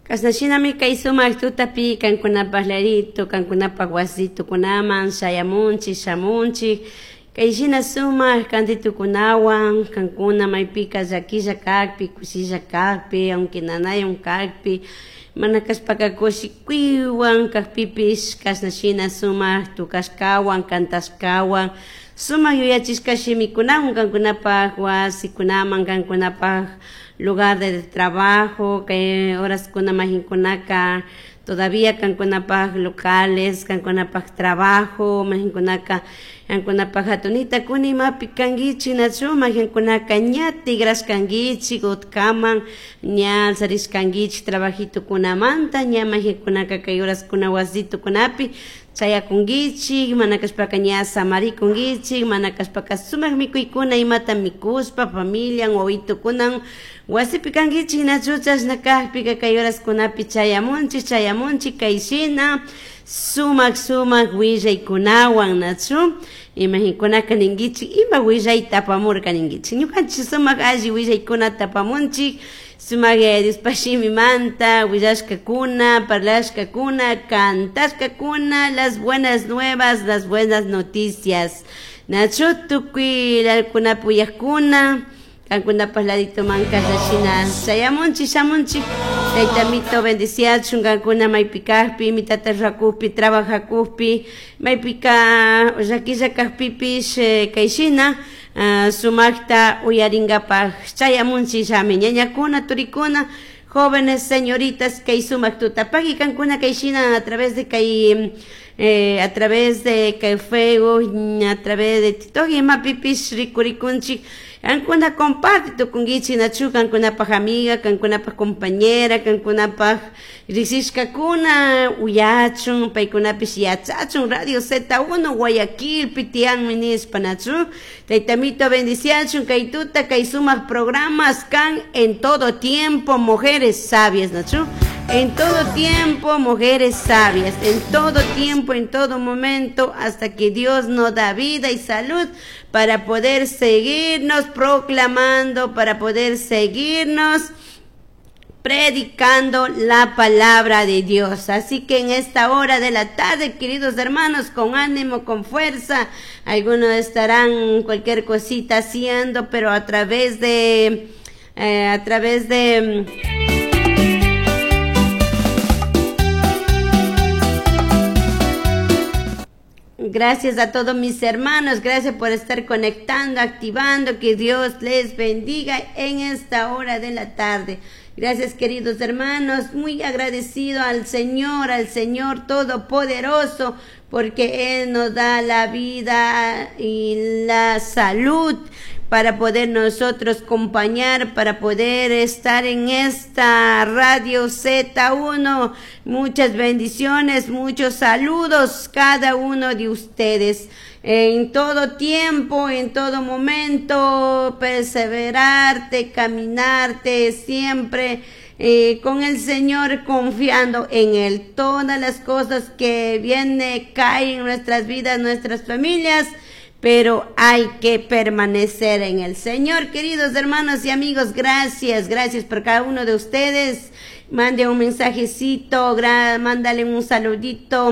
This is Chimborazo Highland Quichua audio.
Kashna shinami kay sumak tutapi kankunapak ladito, kankunapak wasitukunaman shayamunchik, shamunchik. Kay shina sumak kantitukunawan, kankuna maypika llakilla kakpi, kushilla kakpi, aunque nanayon kakpi, mana kashpaka kushikuywan kakpipish kashna shina sumak tukashkawan, kantashkawan, sumak yuyachishka shimikunawan kankunapak wasikunaman, kankunapak lugar de trabajo, kay horaskuna majinkunaka todavía kankunapak locales, kankunapak trabajo, majinkunaka kankunapak hatunita kuni imapi kankichik nachu majinkunaka ña tigrashkankichik utkaman ña alzarishkankichik trabajitukunamanta ña majinkunaka kay horaskuna wasitukunapi chayakunkichik mana kashpaka ña samarikunkichik mana kashpaka sumak mikuykuna imata mikushpa familian wawitukunan wasipi kankichik nachu chashna kakpika kay horaskunapi chayamunchik chayamunchik kay shina sumak sumak willaykunawan nachu imahinkunaka ninkichik ima willayta apamurka ninkichik ñukanchik sumak alli willaykunata apamunchik sumak Yaya Diospa shimimanta willashkakuna parlashkakuna kantashkakuna las buenas nuevas, las buenas noticias. Nachu tukuy lalkunapi uyakuna kankunapak laditoman kashna chayamunchik shamunchik Tayta Amito bendiciachun kankuna maypi kakpi imitata rurakukpi trabajakukpi maypika llakilla kakpipish kay shina sumakta uyarinkapak chayamunchikllami ñañakuna turikuna jóvenes señoritas kay sumak tutapaki kankuna kay shina a través de kay a través de kay Facebook a través de TikTok imapipish rikurikunchik kankuna comparte tukunkichik nachu kankunapak amiga kankunapak compañera kankunapak riksishkakuna uyachun paykunapish yachachun Radio Z1 Guayaquilpi tiyanmi nishpa nachu Tayta Amito bendiciachun kay tuta kay sumak programas kan en todo tiempo mujeres sabias nachu en todo tiempo mujeres sabias en todo tiempo en todo momento hasta que Dios nos da vida y salud para poder seguirnos proclamando, para poder seguirnos predicando la palabra de Dios. Así que en esta hora de la tarde, queridos hermanos, con ánimo, con fuerza, algunos estarán cualquier cosita haciendo, pero a través de Gracias a todos mis hermanos, gracias por estar conectando, activando, que Dios les bendiga en esta hora de la tarde. Gracias, queridos hermanos, muy agradecido al Señor Todopoderoso, porque Él nos da la vida y la salud para poder nosotros acompañar, para poder estar en esta Radio Z1. Muchas bendiciones, muchos saludos cada uno de ustedes. En todo tiempo, en todo momento, perseverarte, caminarte siempre con el Señor, confiando en Él. Todas las cosas que vienen, caen en nuestras vidas, nuestras familias, pero hay que permanecer en el Señor. Queridos hermanos y amigos, gracias, gracias por cada uno de ustedes. Mande un mensajecito, mándale un saludito.